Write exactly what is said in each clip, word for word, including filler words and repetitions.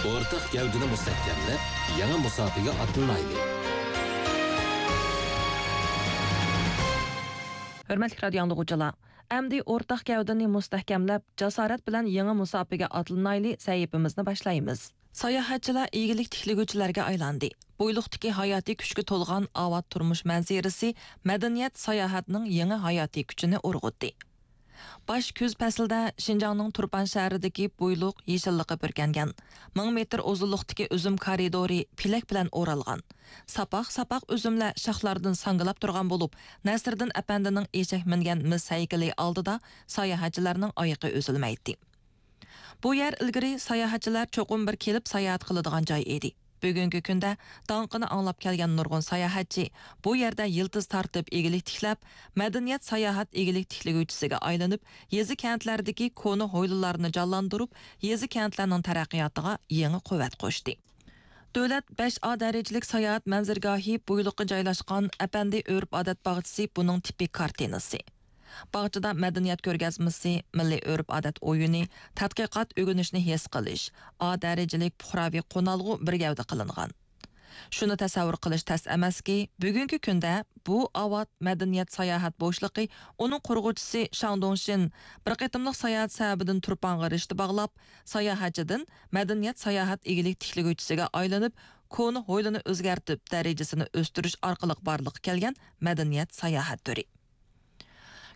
ئورتاق گەۋدىنى مۇستەھكەملەپ، يېڭى مۇساپىگە ئاتلىنايلى! ھۆرمەتلىك رادىيو ئاڭلىغۇچىلار، ئەمدى ئورتاق گەۋدىنى مۇستەھكەملەپ، جاسارەت بىلەن يېڭى مۇساپىگە ئاتلىنايلى سەھىپىمىزنى باشلايمىز. ساياھەتچىلەر ئىگىلىك تىكلىگۈچىلەرگە ئايلاندى. بويلۇقتىكى ھاياتىي كۈچكە تولغان ئاۋات تۇرمۇش مەنزىرىسى مەدەنىيەت ساياھەتنىڭ يېڭى ھاياتىي كۈچىنى ئۇرغۇتتى. باش كۈز پەسلىدە شىنجاڭنىڭ تۇرپان شەھىرىدىكى بويلۇق يېشىللىققا پۈركەنگەن، مىڭ مېتىر ئۇزۇنلۇقتىكى ئۈزۈم كارىدورى پېلەك بىلەن ئورالغان. ساپاق-ساپاق ئۈزۈملەر شاخلاردىن ساڭگىلاپ تۇرغان بولۇپ، نەسىردىن ئەپەندىنىڭ ئېشەك مىنگەن مىس ھەيكىلى ئالدىدا ساياھەتچىلەرنىڭ ئايىقى ئۈزۈلمەيتتى. بۇ يەر ئىلگىرى ساياھەتچىلەر چوقۇم بىر كېلىپ ساياھەت قىلىدىغان جاي ئىدى. بۈگۈنكى كۈندە داڭقىنى ئاڭلاپ كەلگەن نۇرغۇن ساياھەتچى بۇ يەردە يىلتىز تارتىپ ئىگىلىك تىكلەپ، مەدەنىيەت ساياھەت ئىگىلىك تىكلىگۈچىسىگە ئايلىنىپ، يېزا كەنتلەردىكى كونا ھويلىلارنى جانلاندۇرۇپ، يېزا كەنتلەرنىڭ تەرەققىياتىغا يېڭى قۇۋۋەت قوشتى. دۆلەت بەش ئا دەرىجىلىك ساياھەت مەنزىرىگاھى بويلۇققا جايلاشقان ئەپەندى ئۆرپ-ئادەت باغچىسى بۇنىڭ تىپىك كارتىنىسى. باغچىدا مەدەنىيەت كۆرگەزمىسى، مىللىي ئۆرپ-ئادەت ئويۇنى، تەتقىقات ئۆگىنىشنى ھېس قىلىش، ئا دەرىجىلىك پۇقراۋى قونالغۇ بىر گەۋدە قىلىنغان. شۇنى تەسەۋۋۇر قىلىش تەس ئەمەسكى، بۈگۈنكى كۈندە بۇ ئاۋات مەدەنىيەت ساياھەت بوشلۇقى ئۇنىڭ قۇرغۇچىسى شاڭ دۇڭشىن بىر قېتىملىق ساياھەت سەۋەبىدىن تۇرپانغا رىشتە باغلاپ، ساياھەتچىدىن مەدەنىيەت ساياھەت ئىگىلىك تىكلىگۈچىسىگە ئايلىنىپ، كونا ھويلىنى ئۆزگەرتىپ، دەرىجىسىنى ئۆستۈرۈش ئارقىلىق بارلىققا كەلگەن مەدەنىيەت ساياھەت تۈرى.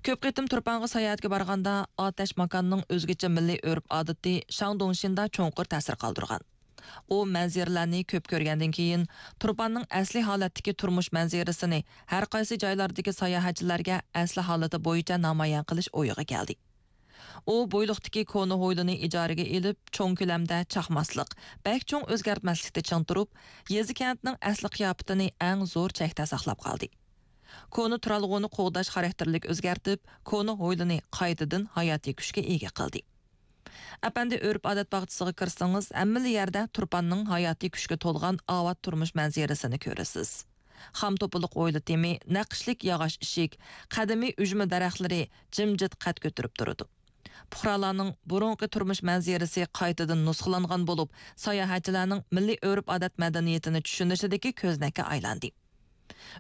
كۆپ قېتىم تۇرپانغا ساياھەتكە بارغاندا، ئاتەش ماكاننىڭ ئۆزگىچە مىللىي ئۆرپ-ئادىتى شاڭ دۇڭشىندا چوڭقۇر تەسىر قالدۇرغان. ئۇ مەنزىرىلەرنى كۆپ كۆرگەندىن كېيىن، تۇرپاننىڭ ئەسلىي ھالەتتىكى تۇرمۇش مەنزىرىسىنى ھەر قايسى جايلاردىكى ساياھەتچىلەرگە ئەسلى ھالىتى بويىچە نامايان قىلىش ئويىغا كەلدى. ئۇ بويلۇقتىكى كونا ھويلىنى ئىجارىگە ئېلىپ، چوڭ كۆلەمدە چاقماسلىق، بەك چوڭ ئۆزگەرتمەسلىكتە چىڭ تۇرۇپ، يېزا كەنتنىڭ ئەسلى قىياپىتىنى ئەڭ زور چەكتە ساقلاپ قالدى. كونا تۇرالغۇنى قوغداش خاراكتېرلىك ئۆزگەرتىپ، كونا ھويلىنى قايتىدىن ھاياتىي كۈچكە ئىگە قىلدى. ئەپەندى ئۆرپ-ئادەت باغچىسىغا كىرسىڭىز، ھەممىلا يەردە تۇرپاننىڭ ھاياتىي كۈچكە تولغان ئاۋات تۇرمۇش مەنزىرىسىنى كۆرىسىز. خام توپىلىق ھويلا تېمى، نەقىشلىك ياغاچ ئىشىك، قەدىمىي ئۈجمە دەرەخلىرى جىمجىت قەد كۆتۈرۈپ تۇرىدۇ. پۇقرالارنىڭ بۇرۇنقى تۇرمۇش مەنزىرىسى قايتىدىن نۇسخىلانغان بولۇپ، ساياھەتچىلەرنىڭ مىللىي ئۆرپ-ئادەت مەدەنىيىتىنى چۈشىنىشىدىكى كۆزنەككە ئايلاندى.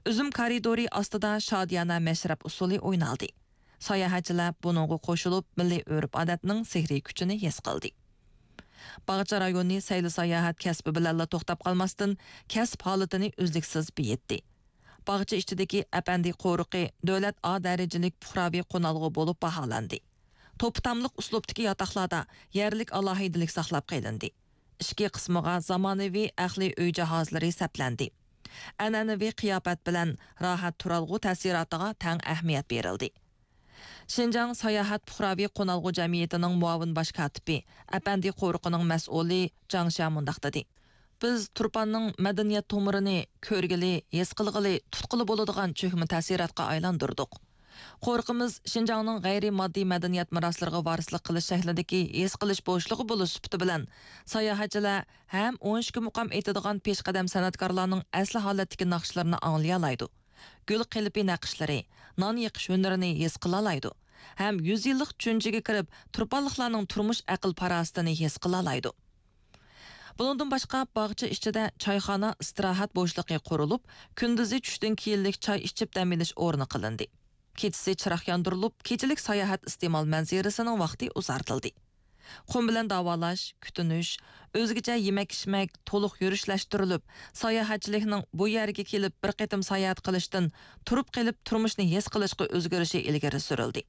ئۈزۈم كارىدورى ئاستىدا شادىيانە مەشرەپ ئۇسسۇلى ئوينالدى. ساياھەتچىلەر بۇنىڭغا قوشۇلۇپ، مىللىي ئۆرپ-ئادەتنىڭ سېھرىي كۈچىنى ھېس قىلدى. باغچە رايونى سەيلە-ساياھەت كەسپى بىلەنلا توختاپ قالماستىن، كەسىپ ھالىتىنى ئۈزلۈكسىز بېيىتتى. باغچە ئىچىدىكى ئەپەندى قورۇقى دۆلەت ئا دەرىجىلىك پۇقراۋى قونالغۇ بولۇپ باھالاندى. توپا-تاملىق ئۇسلۇبتىكى ياتاقلاردا يەرلىك ئالاھىدىلىك ساقلاپ قېلىندى. ئىچكى قىسمىغا زامانىۋى ئەقلىي ئۆي جاھازلىرى سەپلەندى. ئەنئەنىۋى قىياپەت بىلەن راھەت تۇرالغۇ تەسىراتىغا تەڭ ئەھمىيەت بېرىلدى. شىنجاڭ ساياھەت پۇقراۋى قونالغۇ جەمئىيىتىنىڭ مۇئاۋىن باش كاتىپى، ئەپەندى قورۇقىنىڭ مەسئۇلى جاڭ شيا مۇنداق دېدى: بىز تۇرپاننىڭ مەدەنىيەت تومۇرىنى كۆرگىلى، ھېس قىلغىلى، تۇتقىلى بولىدىغان چۆكمە تەسىراتقا ئايلاندۇردۇق. قورۇقىمىز شىنجاڭنىڭ غەيرىي ماددىي مەدەنىيەت مىراسلىرىغا ۋارىسلىق قىلىش شەكلىدىكى ھېس قىلىش بوشلۇقى بولۇش سۈپىتى بىلەن، ساياھەتچىلەر ھەم ئون ئىككى مۇقام ئېيتىدىغان پېشقەدەم سەنئەتكارلارنىڭ ئەسلى ھالەتتىكى ناخشىلىرىنى ئاڭلىيالايدۇ. گۈل قېلىپى نەقىشلىرى، نان يېقىش ھۈنىرىنى ھېس قىلالايدۇ ھەم يۈز يىللىق چۈنجىگە كىرىپ، تۇرپانلىقلارنىڭ تۇرمۇش ئەقىل-پاراسىتىنى ھېس قىلالايدۇ. بۇنىڭدىن باشقا، باغچە ئىچىدە چايخانا، ئىستىراھەت بوشلۇقى قۇرۇلۇپ، كۈندۈزى چۈشتىن كېيىنلىك چاي ئىچىپ دەم ئېلىش ئورنى قىلىندى. كېچىسى چىراغ ياندۇرۇلۇپ، كېچىلىك ساياھەت ئىستېمال مەنزىرىسىنىڭ ۋاقتى ئۇزارتىلدى. قۇم بىلەن داۋالاش، كۈتۈنۈش، ئۆزگىچە يېمەك-ئىچمەك تولۇق يۈرۈشلەشتۈرۈلۈپ، ساياھەتچىلىكنىڭ بۇ يەرگە كېلىپ بىر قېتىم ساياھەت قىلىشتىن تۇرۇپ قېلىپ تۇرمۇشنى ھېس قىلىشقا ئۆزگىرىشى ئىلگىرى سۈرۈلدى.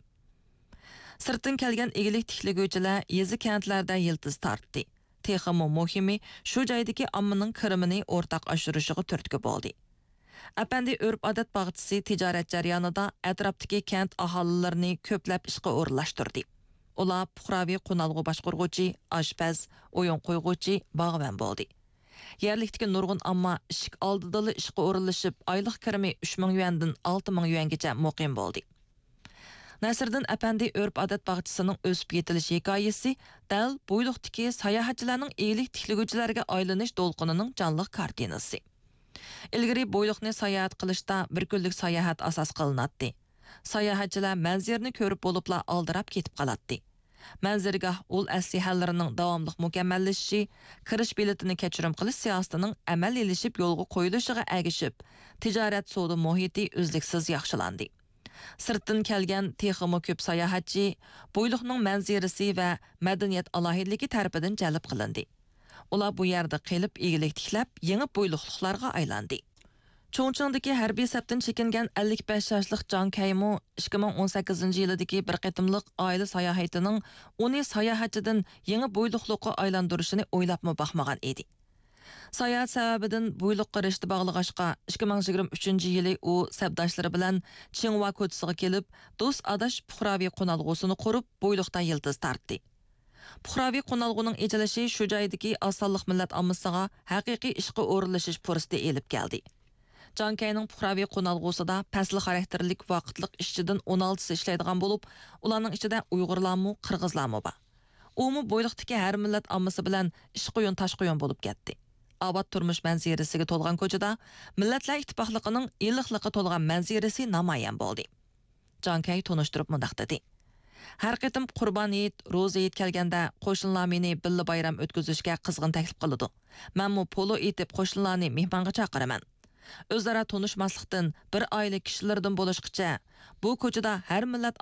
سىرتتىن كەلگەن ئىگىلىك تىكلىگۈچىلەر يېزا-كەنتلەردە يىلتىز تارتتى. تېخىمۇ مۇھىمى، شۇ جايدىكى ئاممىنىڭ كىرىمىنى ئورتاق ئاشۇرۇشىغا تۈرتكە بولدى. ئەپەندى ئۆرپ-ئادەت باغچىسى تىجارەت جەريانىدا ئەتراپتىكى كەنت ئاھالىلىرىنى كۆپلەپ ئىشقا ئورۇنلاشتۇردى. ئۇلار پۇقراۋى قونالغۇ باشقۇرغۇچى، ئاشپەز، ئويۇن قويغۇچى، باغۋەن بولدى. يەرلىكتىكى نۇرغۇن ئامما ئىشىك ئالدىدىلا ئىشقا ئورۇنلىشىپ، ئايلىق كىرىمى ئۈچ مىڭ يۈەندىن ئالتە مىڭ يۈەنگىچە مۇقىم بولدى. نەسىردىن ئەپەندى ئۆرپ-ئادەت باغچىسىنىڭ ئۆسۈپ يېتىلىش ھېكايىسى دەل بويلۇقتىكى ساياھەتچىلەرنىڭ ئىگىلىك تىكلىگۈچىلەرگە ئايلىنىش دولقۇنىنىڭ جانلىق كارتىنىسى. ئىلگىرى بويلۇقنى ساياھەت قىلىشتا بىر كۈنلۈك ساياھەت ئاساس قىلىناتتى. ساياھەتچىلەر مەنزىرىنى كۆرۈپ بولۇپلا ئالدىراپ كېتىپ قالاتتى. مەنزىرىگاھ ئۇل ئەسلىھەلىرىنىڭ داۋاملىق مۇكەممەللىشىشى، كىرىش بېلىتىنى كەچۈرۈم قىلىش سىياسىتىنىڭ ئەمەلىيلىشىپ يولغا قويۇلۇشىغا ئەگىشىپ، تىجارەت سودا مۇھىتى ئۈزلۈكسىز ياخشىلاندى. سىرتتىن كەلگەن تېخىمۇ كۆپ ساياھەتچى بويلۇقنىڭ مەنزىرىسى ۋە مەدەنىيەت ئالاھىدىلىكى تەرىپىدىن جەلپ قىلىندى. ئۇلار بۇ يەردە قېلىپ، ئىگىلىك تىكلەپ، يېڭى بويلۇقلۇقلارغا ئايلاندى. چۇڭچىڭدىكى ھەربىي سەپتىن چېكىنگەن ئەللىك بەش ياشلىق جاڭ كەيمۇ ئىككى مىڭ ئون سەككىزىنچى يىلىدىكى بىر قېتىملىق ئائىلە ساياھىتىنىڭ ئۇنى ساياھەتچىدىن يېڭى بويلۇقلۇققا ئايلاندۇرۇشىنى ئويلاپمۇ باقمىغان ئىدى. ساياھەت سەۋەبىدىن بويلۇققا رىشتە باغلىغاچقا، ئىككى مىڭ يىگىرمە ئۈچىنچى يىلى ئۇ سەپداشلىرى بىلەن چىڭۋا كوچىسىغا كېلىپ، دوست ئاداش پۇقراۋى قونالغۇسىنى قۇرۇپ، بويلۇقتا يىلتىز تارتتى. پۇقراۋى قونالغۇنىڭ ئېچىلىشى شۇ جايدىكى ئاز سانلىق مىللەت ئاممىسىغا ھەقىقىي ئىشقا ئورۇنلىشىش پۇرسىتى ئېلىپ كەلدى. جاڭ كەينىڭ پۇقراۋى قونالغۇسىدا پەسلى خاراكتېرلىك ۋاقىتلىق ئىشچىدىن ئون ئالتىسى ئىشلەيدىغان بولۇپ، ئۇلارنىڭ ئىچىدە ئۇيغۇرلارمۇ، قىرغىزلارمۇ بار. ئۇمۇ بويلۇقتىكى ھەر مىللەت ئاممىسى بىلەن ئىشقۇيۇن تاشقۇيۇن بولۇپ كەتتى. ئاۋات تۇرمۇش مەنزىرىسىگە تولغان كوچىدا مىللەتلەر ئىتتىپاقلىقىنىڭ ئىللىقلىققا تولغان مەنزىرىسى نامايان بولدى. جاڭ كەي تونۇشتۇرۇپ مۇنداق دېدى: ھەر قېتىم قۇربان ھېيت، روزا ھېيت كەلگەندە، قوشنىلار مېنى بىللە بايرام ئۆتكۈزۈشكە قىزغىن تەكلىپ قىلىدۇ. مەنمۇ پولۇ ئېتىپ، قوشنىلارنى مېھمانغا چاقىرىمەن. ئۆزئارا تونۇشماسلىقتىن، بىر ئائىلە كىشىلىرىدىن بولۇشقىچە، بۇ كوچىدا ھەر مىللەت